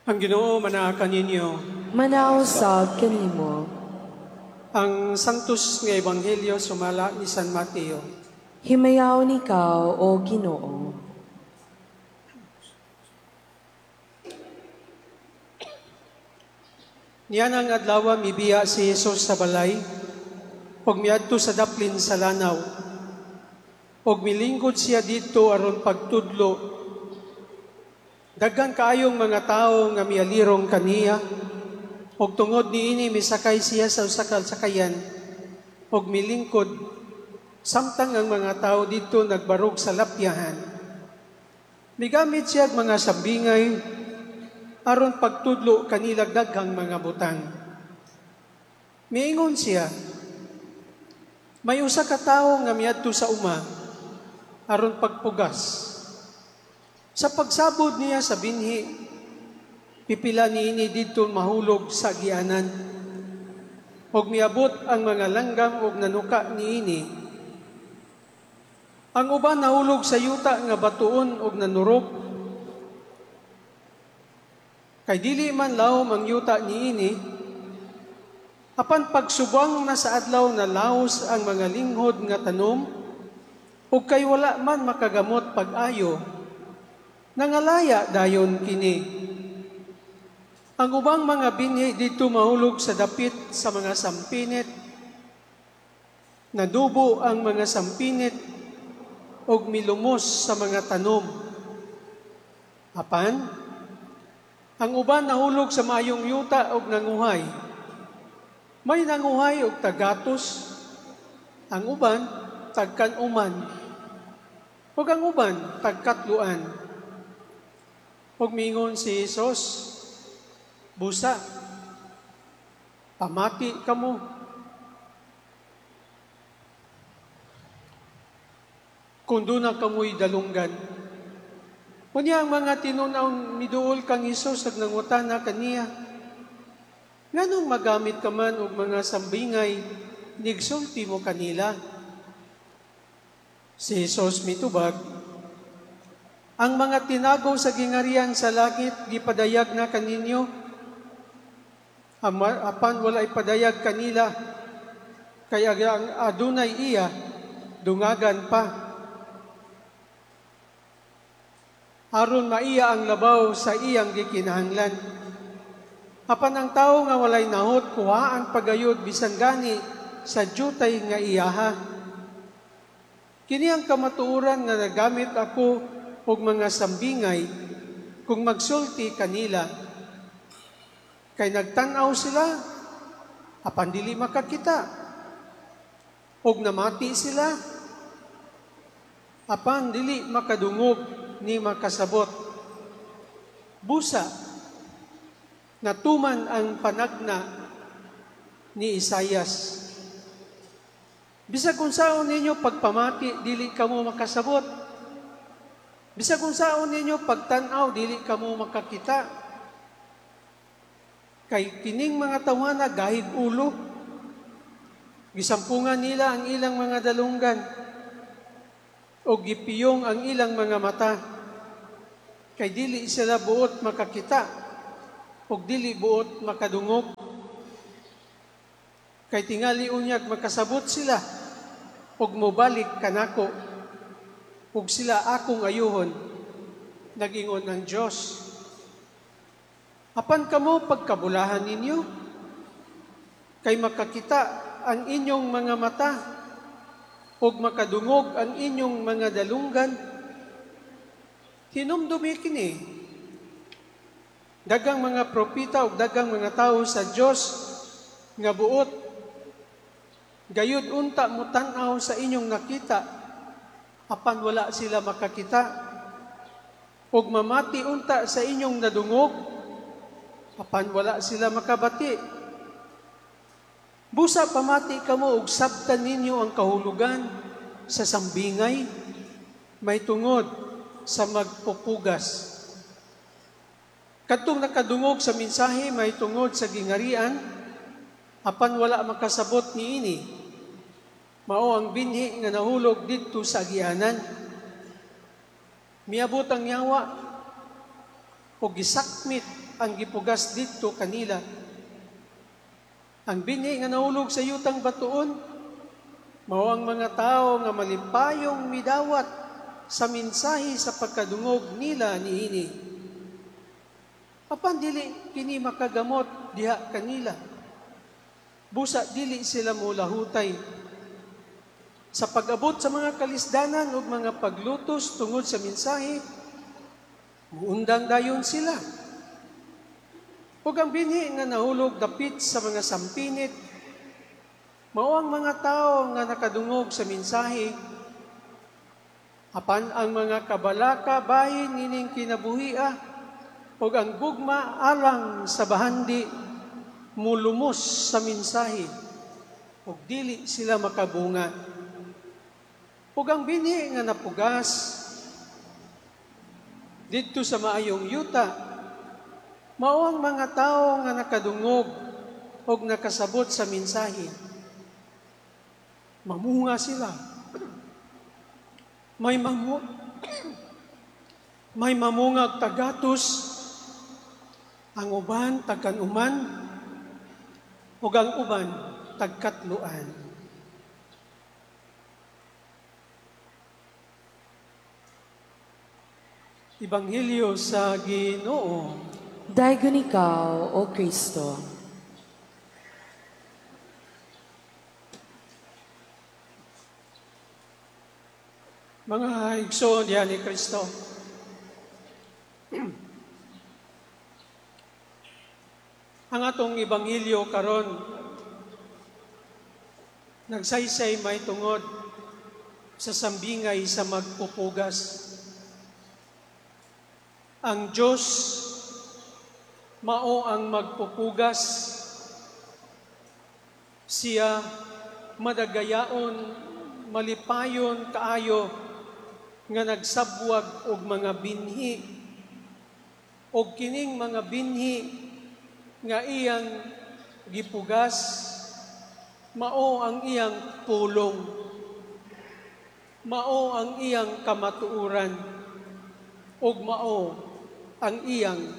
Ang Ginoo manaa kaninyo. Manaw sab kanimo. Ang Santos nga Ebanghelyo sumala ni San Mateo. Himayaon ikaw, O Ginoo. Niya nang adlaw mibiya si Jesus sa balay ug miadto sa daplin sa lanaw. Ug milingkod siya didto aron pagtudlo. Daghan kaayong mga tawo nga mialirong kaniya, ug tungod niini misakay siya sa usa ka sakayan ug milingkod samtang ang mga tawo didto nagbarog sa lapyahan. Migamit siya og mga sambingay aron pagtudlo kanila daghang mga butang. Miingon siya, may usa ka tawo nga miadto sa uma aron pagpugas. Sa pagsabod niya sa binhi, pipila niini didto mahulog sa agianan. Ug miabot ang mga langgam ug nanuka niini. Ang uban nahulog sa yuta nga batuon ug nanurok. Kay dili man lawom ang yuta niini, apan pagsubang na sa adlaw na laos ang mga linghod nga tanom, ug kay wala man makagamot pag-ayo, nangalaya dayon kini. Ang ubang mga binhi didto mahulog sa dapit sa mga sampinit, nadubo ang mga sampinit ug milumos sa mga tanom. Apan, ang uban nahulog sa maayong yuta ug nanguhay. May nanguhay og tagatos, ang uban tagkan-uman, ug ang uban tagkatluan. Ug miingon si Jesus, busa, pamati kamo. Kung doon na kamoy dalunggan. Unya ang mga tinunaw miduol kang Hesus ag nangutana kaniya, nganong magamit ka man og mga sambingay, nigsulti mo kanila? Si Hesus mitubag, ang mga tinago sa gingarian sa langit gipadayag na kaninyo, apan wala ipadayag kanila, kay ang adunay iya dungagan pa. Aron maiya ang labaw sa iyang gikinahanglan. Apan ang tawo nga walay nahot, kuhaan pagayod bisan gani sa jutay nga iyaha. Kini ang kamatuoran nga nagamit ako og mga sambingay kung magsulti kanila. Kay nagtan-aw sila, apan dili makakita. Og namati sila, apan dili makadungog ni makasabot. Busa, natuman ang panagna ni Isayas. Bisag kung saon ninyo pagpamati, dili kamo makasabot. Bisag kung saon ninyo pagtan-aw, dili kamo makakita. Kay kining mga tawhana gahig ulo. Gisampungan nila ang ilang mga dalunggan o gipiyong ang ilang mga mata. Kay dili sila buot makakita o dili buot makadungog. Kay tingali unyag makasabot sila ug mobalik kanako ug sila akong ayuhon, nag-ingon ang Dios. Apan kamo pagkabulahan ninyo, kay makakita ang inyong mga mata ug makadungog ang inyong mga dalunggan. Hinumdumi kini, daghang mga propeta ug daghang mga tawo sa Dios nga buot gayud unta motan-aw sa inyong nakita, apan wala sila makakita, ug mamati unta sa inyong nadungog, apan wala sila makabati. Busa pamati kamo ug sabtan ninyo ang kahulugan sa sambingay, may tungod sa magpupugas. Kadtong nakadungog sa mensahe may tungod sa gingarian, apan wala makasabot niini. Mao ang binhi nga nahulog didto sa agianan. Miabot ang yawa, Ug gisakmit ang gipugas didto kanila. Ang binhi nga nahulog sa yutang batuon, mao ang mga tawo nga malipayong midawat sa mensahe sa pagkadungog nila niini. Apan dili kini makagamot diha kanila. Busa dili sila molahutay. Sa pag-abot sa mga kalisdanan ug mga paglutos tungod sa mensahe, muundang dayon sila. Ug ang binhi nga nahulog dapit sa mga sampinit, mao ang mga tawo nga nakadungog sa mensahe, apan ang mga kabalaka bahin nining kinabuhia ug ang gugma alang sa bahandi mulumos sa mensahe ug dili sila makabunga. Ug ang binhi nga napugas didto sa maayong yuta, mao ang mga tawo nga nakadungog ug nakasabot sa mensahe. Mamunga sila. May mamungag tagatos, ang uban tagkanuman, ug ang uban tagkatluan. Ebanghelyo sa Ginoo. Daygon ikaw, O Kristo. Mga igsoon diha ni Kristo, ang atong ebanghelyo karon nagsaysay may tungod sa sambingay sa magpupugas. Ang Diyos mao ang magpupugas. Siya madagayaon, malipayon kaayo nga nagsabwag og mga binhi, og kining mga binhi nga iyang gipugas mao ang iyang pulong, mao ang iyang kamatuoran, ug mao ang iyang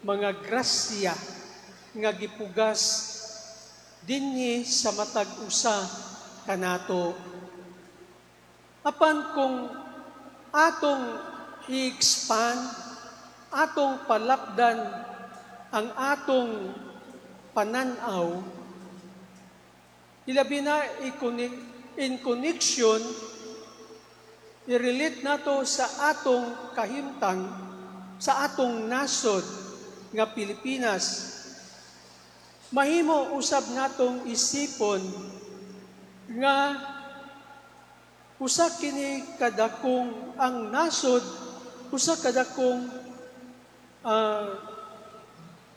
mga grasya nga gipugas dinhi sa matag usa kanato. Apan kung atong i-expand, atong palapdan ang atong pananaw, ilabi na in connection, i-relate nato sa atong kahimtang, sa atong nasod nga Pilipinas. Mahimo usab natong isipon nga usa kini kadakong ang nasod, usa kadakong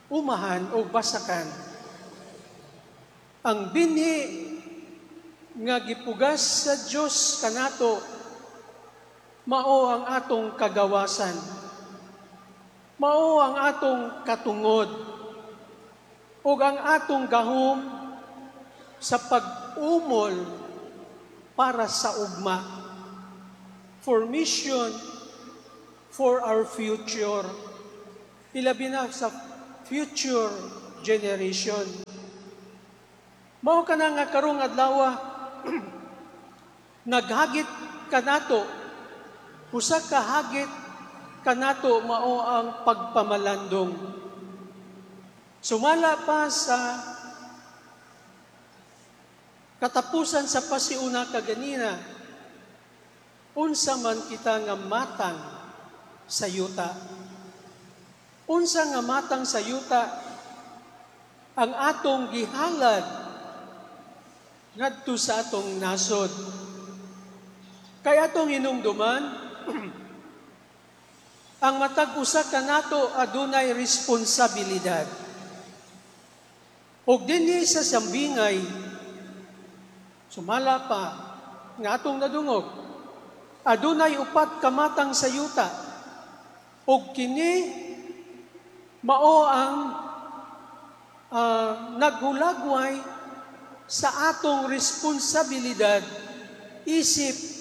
umahan o basakan. Ang binhi nga gipugas sa Dios kanato mao ang atong kagawasan, mao ang atong katungod, ug ang atong gahom sa pag-umol para sa ugma, for mission, for our future, ilabi na sa future generation. Mao kana nga karong adlaw naghagit kanato, usa ka hagit kanato mao ang pagpamalandong. Sumala pa sa katapusan sa pasiuna kaganina, unsa man kita nga matang sa yuta. Unsa nga matang sa yuta ang atong gihalad ngadto sa atong nasod. Kay atong hinumduman, ang matag usa kanato adunay responsibilidad. Og dinhi sa sambingay, sumala pa nga atong nadungog, adunay upat ka matang sa yuta, og kini mao ang naghulagway sa atong responsibilidad isip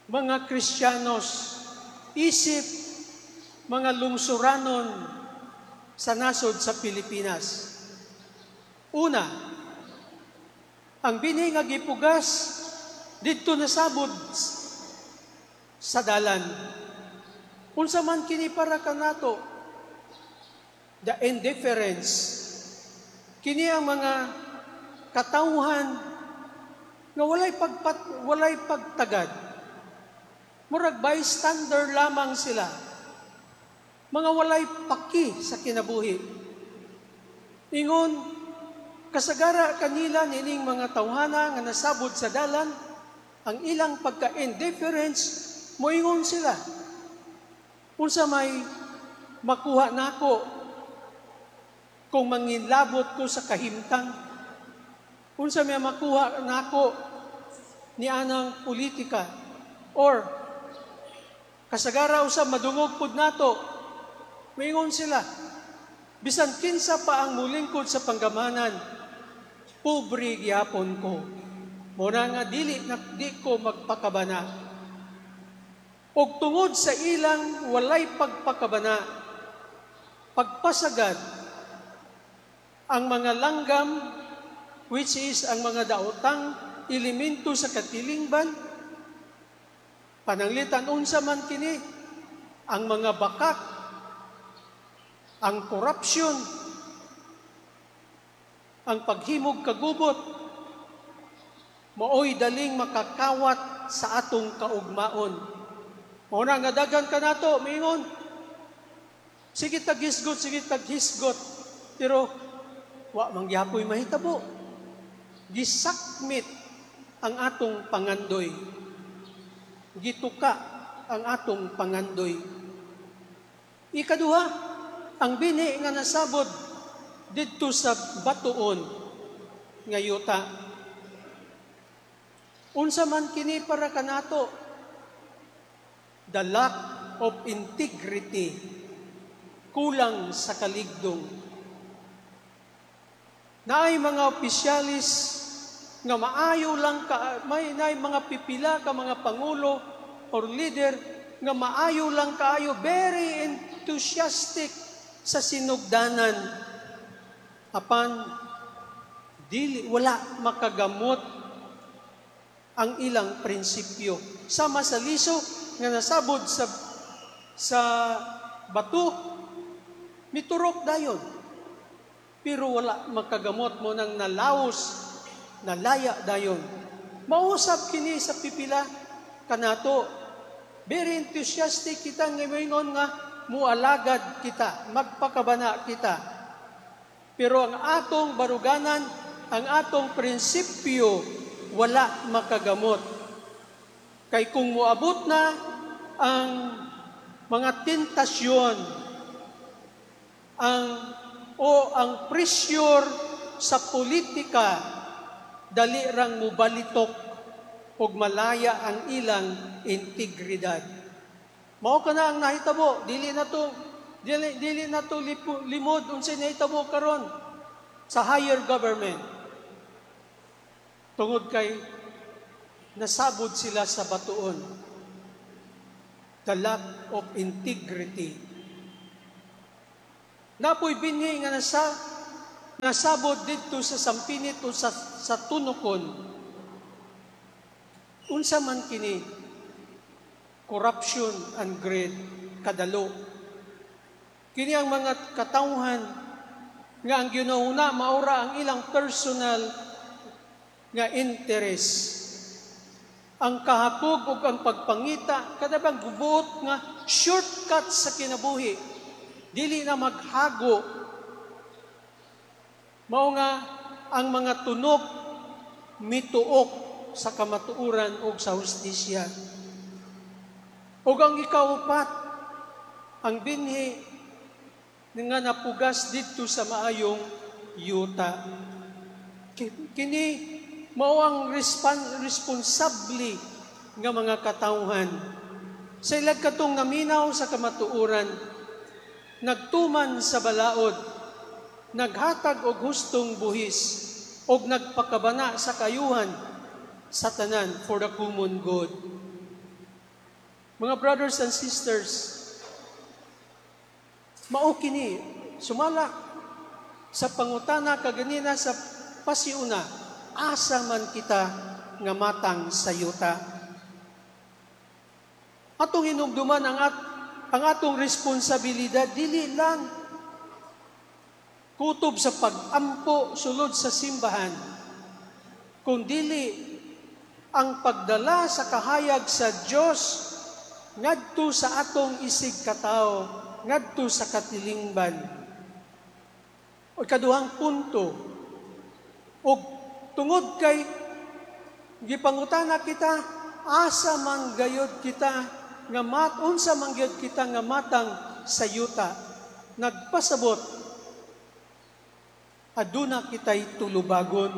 mga Kristiyanos, isip mga lungsuranon sa nasod sa Pilipinas. Una, ang binhi nga gipugas didto nasabod sa dalan. Unsa man kini para kanato? The indifference. Kini ang mga katawhan nga walay pagtagad. Murag bystander lamang sila. Mga walay paki sa kinabuhi. Ingon, kasagara kanila nining mga tawhana nga nasabod sa dalan, ang ilang pagka-indifference, moingon sila, "Unsa may makuha nako kung manginlabot ko sa kahimtang? Unsa may makuha nako ni anang politika?" Or kasagara usab madungog pud nato, moingon sila, "Bisan kinsa pa ang mulingkod sa panggamanan, pobre gihapon ko. Mao na nga dili na di ko magpakabana." Og tungod sa ilang walay pagpakabana, pagpasagad, ang mga langgam, which is ang mga daotang elemento sa katilingban, pananglitan unsa man kini, ang mga bakak, ang corruption, ang paghimog kagubot, maoy daling makakawat sa atong kaugmaon. Mao na nga daghan kanato miingon, "Sige taghisgot, sige taghisgot," pero wa man gyapoy mahitabo. Gisakmit ang atong pangandoy. Gituka ang atong pangandoy. Ikaduha, ang binhi nga nasabod didto sa batuon nga yuta. Unsa man kini para kanato? The lack of integrity, kulang sa kaligdong. Naay mga opisyalis nga maayo lang ka, may naay mga pipila ka mga pangulo or leader nga maayo lang kaayo, very enthusiastic sa sinugdanan, apan dili, wala makagamot ang ilang prinsipyo. Sama sa liso nga nasabod sa bato, miturok dayon. Pero wala makagamot mo nang nalawos, nalaya dayon. Mausap kini sa pipila kanato. Very enthusiastic kita nga moingon nga mualagad kita, magpakabana kita. Pero ang atong baruganan, ang atong prinsipyo, wala makagamot. Kay kung moabot na ang mga tentasyon, ang o ang pressure sa politika, dali rang mubalitok ug malaya ang ilang integridad. Mao kana ang nahitabo, dili na to limod unsay nahitabo karon sa higher government. Tungod kay nasabod sila sa batuon. The lack of integrity. Naa poy binhi nga nasabod didto sa sampinit o sa tunokon. Unsa man kini? Corruption and greed, kadalo. Kini ang mga katawhan nga ang ginahuna maura ang ilang personal nga interest. Ang kahakog ug ang pagpangita, kada bang gubuot nga shortcut sa kinabuhi, dili na maghago. Mao nga ang mga tunok mituok sa kamatuoran ug sa hustisya. Ug ang ikaupat, ang binhi nga napugas didto sa maayong yuta. Kini mao ang responsable nga mga katawhan. Sa ilag katong naminaw sa kamatuoran, nagtuman sa balaod, naghatag og hustong buhis, og nagpakabana sa kayuhan sa tanan for the common good. Mga brothers and sisters, Mao kini sumala sa pangutana kaganina sa pasiuna, asa man kita nga matang sa yuta? Atong hinumduman ang atong responsibilidad, dili lang kutob sa pag-ampo sulod sa simbahan, kung dili ang pagdala sa kahayag sa Dios ngadto sa atong isig katawo, ngadto sa katilingban. O kaduhang punto, og tungod kay gipangutana kita, asa man gayod kita nga mat unsa man gyud kita nga matang sa yuta, nagpasabot aduna kitay tulubagon.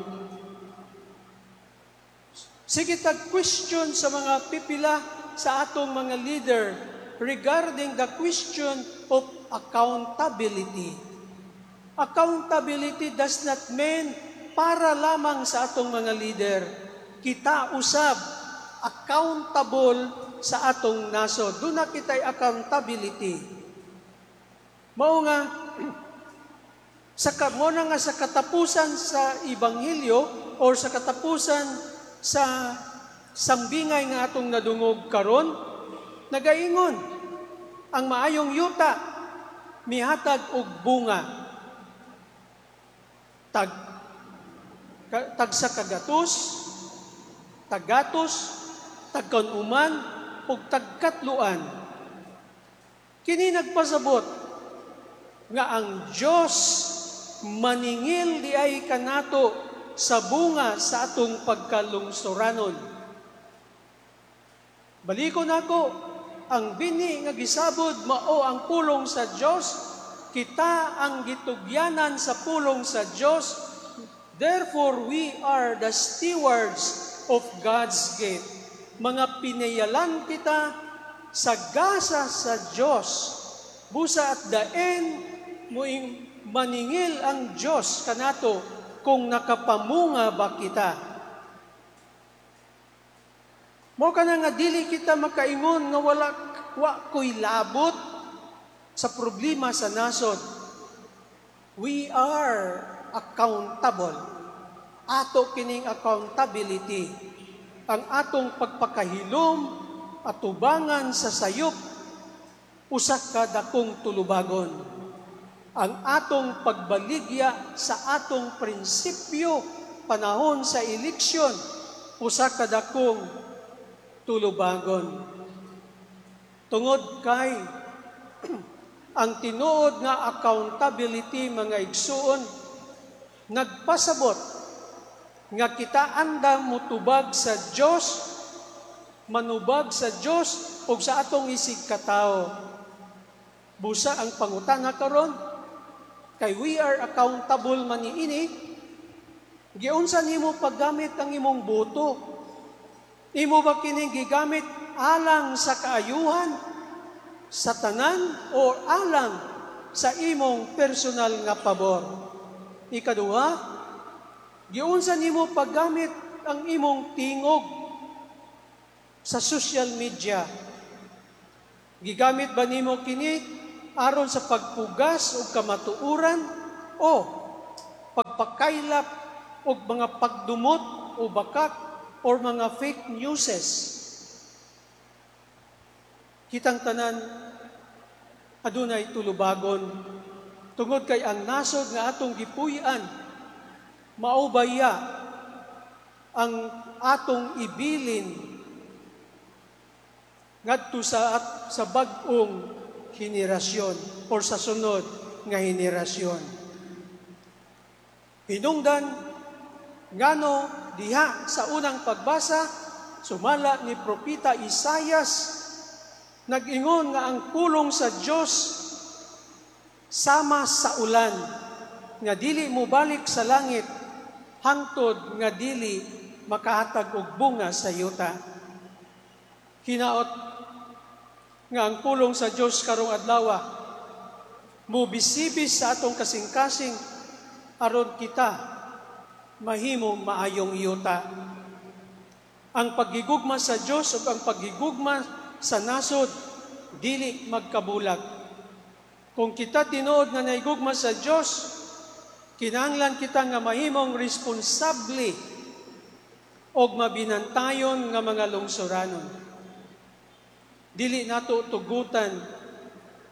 Sige tag question sa mga pipila sa atong mga leader regarding the question of accountability. Accountability does not mean para lamang sa atong mga leader. Kita usab accountable sa atong nasod. Duna kita'y accountability. Mao nga mo na nga sa katapusan sa ebanghelyo or sa katapusan sa sambingay nga atong nadungog karon, nagaingon ang maayong yuta mihatag og bunga tag sa kagatos, taggatos, tagkanuman ug tagkatluan. Kini nagpasabot nga ang Dios maningil diay kanato sa bunga sa atong pagkalungsuranon. Balikon nako, ang bini nga gisabod mao ang pulong sa Dios. Kita ang gitugyanan sa pulong sa Dios. Therefore, we are the stewards of God's gift. Mga pinayalan kita sa gasa sa Dios. Busa at the end, muing maningil ang Dios kanato kung nakapamunga ba kita. Mao kana nga dili kita makaingon nga wala wa ko'y labot sa problema sa nasod. We are accountable. Ato kining accountability. Ang atong pagpakahilom atubangan sa sayop, usa ka dakong tulubagon. Ang atong pagbaligya sa atong prinsipyo panahon sa eleksyon, usa ka dakong tulubagon. Tungod kay ang tinuod nga accountability, mga igsuon, nagpasabot nga kita andam mutubag sa Dios, manubag sa Dios ug sa atong isig katawo. Busa ang pangutana karon, kay we are accountable man niini, giunsa nimo paggamit ang imong boto? Imo ba kining gigamit alang sa kaayuhan sa tanan o alang sa imong personal nga pabor? Ikaduha, giunsa nimo paggamit ang imong tingog sa social media? Gigamit ba nimo kini aron sa pagpugas og kamatuoran o pagpakaylap og mga pagdumot o bakak or mga fake newses? Kitang tanan adunay tulubagon tungod kay ang nasod nga atong gipuy-an mao baya ang atong ibilin ngadto sa bag-ong henerasyon or sa sunod nga henerasyon. Hinungdan ngano diha sa unang pagbasa, sumala ni Propeta Isayas, nag-ingon nga ang pulong sa Dios sama sa ulan nga dili mobalik sa langit hangtod nga dili makahatag og bunga sa yuta. Hinaot nga ang pulong sa Dios karong adlaw mobisibis sa atong kasing-kasing aron kita mahimong maayong yuta. Ang paggigugma sa Dios ug ang paggigugma sa nasod dili magkabulag. Kung kita tinuod nga naigugma sa Dios, kinahanglan kita nga mahimong responsable og mabinantayon nga mga lungsuranon. Dili nato tugutan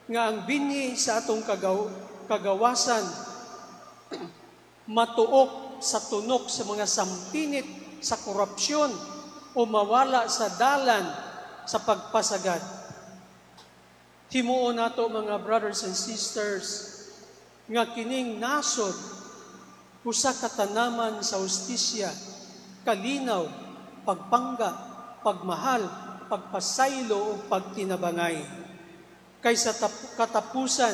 nga ang binhi sa atong kagawasan matuok sa tunok sa mga sampinit sa korupsyon o mawala sa dalan sa pagpasagad. Himuon nato, mga brothers and sisters, nga kining nasod usa ka tanaman sa hustisya, kalinaw, pagpangga, pagmahal, pagpasaylo ug pagtinabangay. Kay sa katapusan,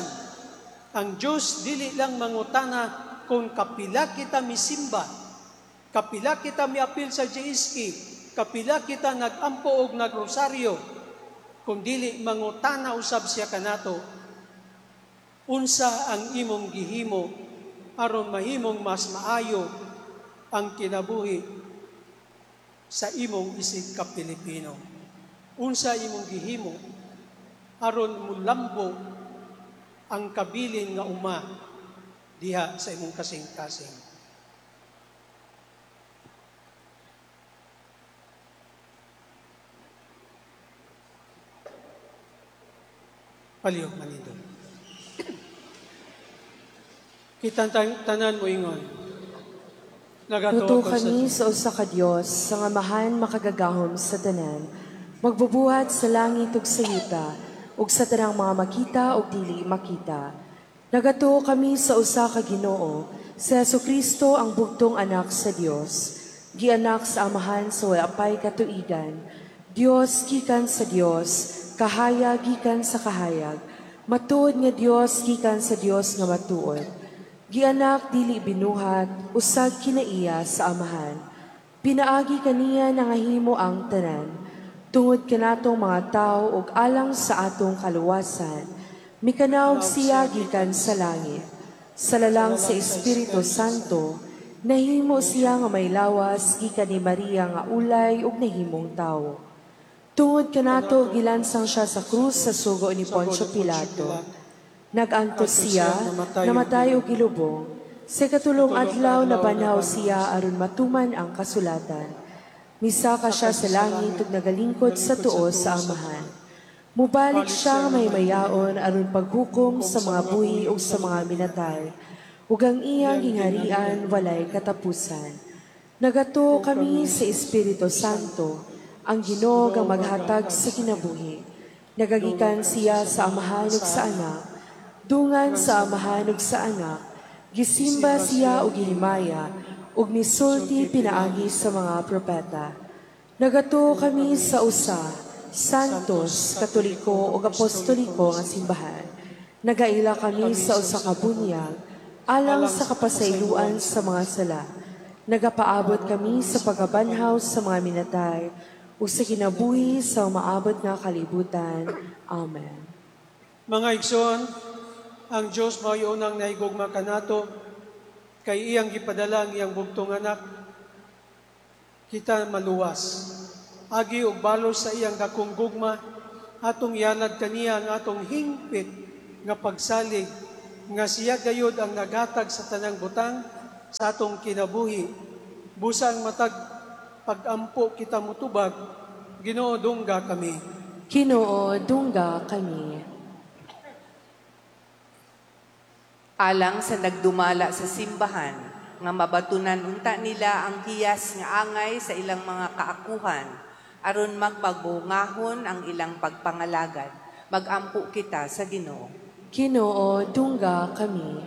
ang Dios dili lang mangutana kung kapila kita misimba, kapila kita miapil sa JSK, kapila kita nagampo og nagrosaryo, kung dili mangutana usab siya kanato, unsa ang imong gihimo aron mahimong mas maayo ang kinabuhi sa imong isig ka Pilipino. Unsa imong gihimo aron mulambo ang kabilin nga uma diha sa imong kasing-kasing. Palihog manindot. Kitang tanan mo ingon. Nagatuo kami sa usa ka Dios, sa Amahan makagagahom sa tanan, magbubuhat sa langit ug sa yuta, ug sa tanang mga makita ug dili makita. Nagatuo kami sa usa ka Ginoo, si Hesukristo ang bugtong anak sa Dios, gianak sa Amahan sa wala pay katuigan, Dios gikan sa Dios, kahayag gikan sa kahayag, matuod nga Dios gikan sa Dios nga matuod. Gianak dili binuhat, usag kinaiya sa Amahan. Pinaagi kaniya nangahimo ang tanan, tungod kanatong mga tawo ug alang sa atong kaluwasan. Mikanaog siya gikan sa langit. Sa lalang sa Espiritu Santo, nahimo siya nga may lawas gikan ni Maria nga ulay ug nahimong tawo. Tungod kanato gilansang siya sa krus sa sugo ni Poncio Pilato. Nag-antos siya, namatay og gilubong. Sa katulong adlaw nabanhaw siya aron matuman ang kasulatan. Misaka siya sa langit ug nagalingkod sa tuo sa Amahan. Mubalik siya may mayaon aron paghukom sa mga buhi ug sa mga minatay. Ug ang iyang gingharian walay katapusan. Nagatuo kami sa Espiritu Santo, ang Ginoo ang maghatag sa kinabuhi. Nagagikan siya sa Amahan ug sa Anak. Dungan sa Amahan ug sa Anak, gisimba siya og gihimaya, ug misulti pinaagi sa mga propeta. Nagatuo kami sa usa, Santos, Katoliko ug Apostoliko nga simbahan. Nagaila kami sa usa ka bunyag, alang sa kapasayloan sa mga sala. Nagapaabot kami sa pagkabanhaw sa mga minatay, ug sa kinabuhi sa umaabot nga kalibutan. Amen. Mga igsoon, ang Diyos mao'y unang nahigugma kanato, kay iyang gipadala ang iyang bugtong anak, kita maluwas. Agi og balos sa iyang dakong gugma, atong ihalad kaniya ang atong hingpit nga pagsalig, nga siya gayud ang naghatag sa tanang butang sa atong kinabuhi. Busang matag pagampo kita mutubag, Ginoo dungga kami. Ginoo dungga kami. Alang sa nagdumala sa simbahan, nga mabatunan unta nila ang hiyas nga angay sa ilang mga kaakuhan, aron magmagbungahon ang ilang pagpangalagad. Magampo kita sa Ginoo. Ginoo, dungga kami.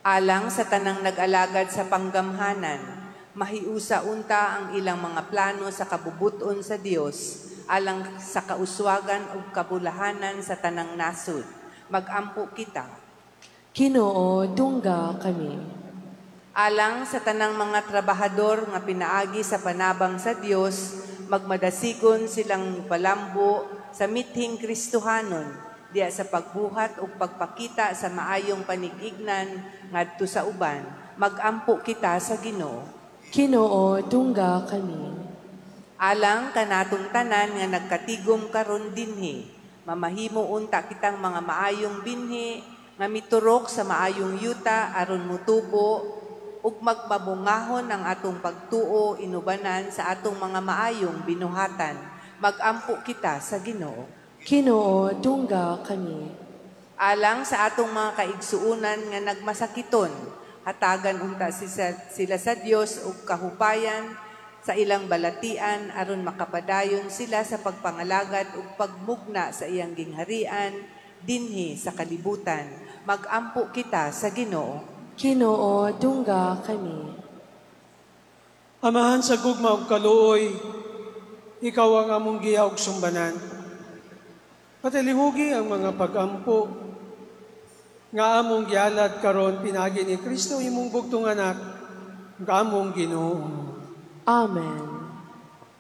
Alang sa tanang nag-alagad sa panggamhanan, mahiusa unta ang ilang mga plano sa kabubuton sa Dios, alang sa kauswagan ug kabulahanan sa tanang nasud. Magampo kita. Ginoo, dungga kami. Alang sa tanang mga trabahador nga pinaagi sa panabang sa Dios, magmadasigon silang palambo sa mithing Kristohanon, diya sa pagbuhat ug pagpakita sa maayong panigignan ngadto sa uban. Magampo kita sa Ginoo. Ginoo, dungga kami. Alang kanatong tanan nga nagkatigom karon dinhi, Mamahimo unta kitang mga maayong binhi nga miturok sa maayong yuta aron mutubo ug magmabungahon ang atong pagtuo inubanan sa atong mga maayong binuhatan. Magampo kita sa Ginoo. Ginoo, dungga kami. Alang sa atong mga kaigsuunan nga nagmasakiton, hatagan unta sila sa Dios og kahupayan sa ilang balatian aron makapadayon sila sa pagpangalagad ug pagmugna sa iyang gingharian dinhi sa kalibutan. Magampo kita sa Ginoo. Ginoo, dungga kami. Amahan sa gugma ug kaluoy, ikaw ang among giya ug sumbanan. Patalihugi ang mga pagampo nga among gihalad karon pinaagi ni Kristo, imong bugtong anak, nga among Ginoo. Amen.